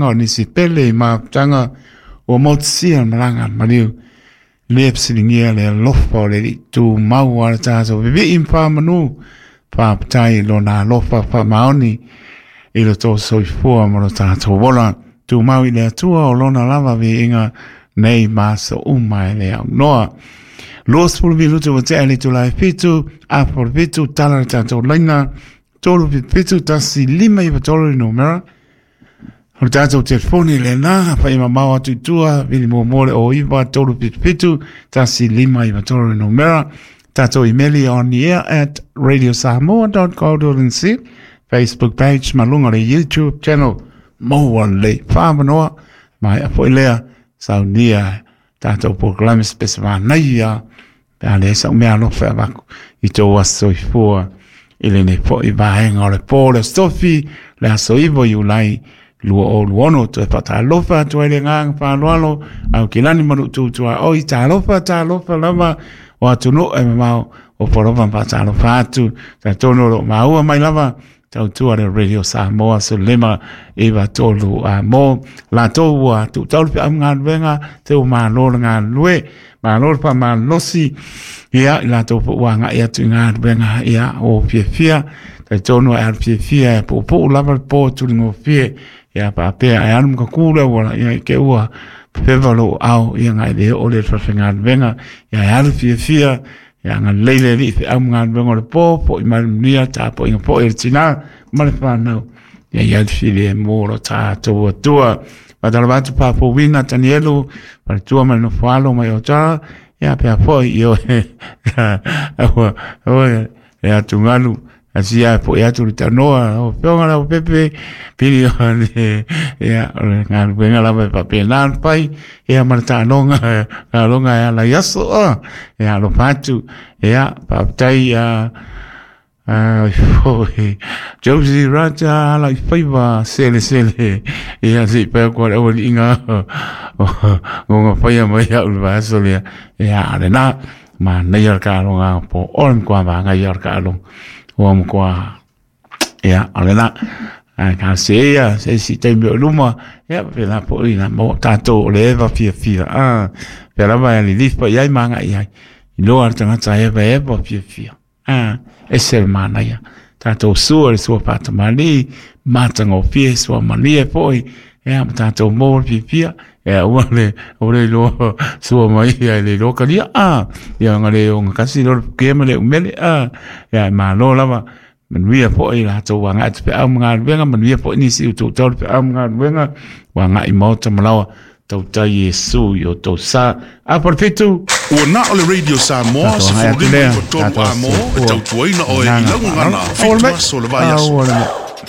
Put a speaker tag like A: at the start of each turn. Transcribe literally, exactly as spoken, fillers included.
A: tulaga o nisi pele i mafutaga ua motusia le malaga a le maliu. Le fesiligia le alofa o le Alii tumau a le tatou vivii ma faamanu. Faafetai i lona alofa faamaoni i lo tou soifua ma lo tatou ola. Tumau i le Atua o lona lava viiga nei ma aso uma e le aunoa. Luasefulu minuti ua tea i le itula e fitu, afa o le fitu, tala le tatou laina, tolu fitu fitu, tasi lima iva tolu le numera. O le tatou telefoni lena, fai mamao atu i tua, vili muamua le o iva, tolu fitu fitu, tasi lima iva tolu le numera. Tatou imeli on the air at radio samoa dot co dot nz, Facebook page ma luga o le YouTube channel maua lelei faamanoa maea foi lea saunia tatou polokalame spesevanaia pe a leai sau mea alofa e avatu i tou aso soifua i lenei foi vaega o le po le Aso Tofi le aso iva o Iulai lua o lua ono. Toe faatalofa atu ai le agaga faaaloalo au kilani ma luu tutuaoi. Talofa talofa lava o atunuu e mamao o polofa ma faatalofa atu talitonu o loo maua mai lava tautua le Radio Samoa sefulu lima iva tolu a mo latou ua tuutau le feau galuega te ua malo le galulue malo le faamalolosi ia i latou foi ua agai atu i galuega ia o fiafia. Talitonu e alu fiafia e puupuu lava le po tuligofie ia faapea e alu ma kakū le auala ia i ke ua feva lou ao ia ngai le oo le falefaigaluega ia e alu fiafia ia agalelei le Alii i feau ma galuega o le po fo'i mai le manuia tapuaiga foi a le tinā ma le fanau ia i alu filemu o lo tatou Atua. Faatalofa atu Papouina Tanielu faletua ma le nofo alo mai Otara ia pea foi i oe aua oe le atugalu asia foi atu le tanoa o fioga lau pepe pili o le ia o le galuega lava e faapena ona fai ia ma le taaloga taaloga e ala i aso a ia alofa atu ia faafetai a foi Josie Raja ala i faiva selesele ia se i pai aku le aualiiga o faia mai au le vaiaso lea ia lena manaia le taaloga po o le matua magaia o le taaloga ua matua ia o lena ae talosia ia se isi taimi o i luma ia faapena foi na maua tatou o le eva fiafia a pea lava e lilifa i ai ma agai i ai iloa le tagata e evaeva fiafia a ese le manaia tatou sua le sua faatamalii matagofie sua malie foi ia ma tatou maua le fiafia ia aua le aua le iloa sua mai ia e le iloa kalia a ia ona le ogatasi loa le pukia ma le umele a ia e malo lava manuia foi latou agai atu feau ma galuega manuia foi nisi o tuutau le feau ma galuega ua agai i maota ma laoa tautai Iesu i o tou sa afa o le fitu.
B: Ua na o le Radio Samoa
A: Tatou agai atu
B: sefulu lima
A: lea
B: iva tolu
A: tatou
B: a mo e
A: soifua
B: tautuaina oe i
A: agaga
B: lau gagana
A: faaaloalo.
B: fitu aso o le vaiaso.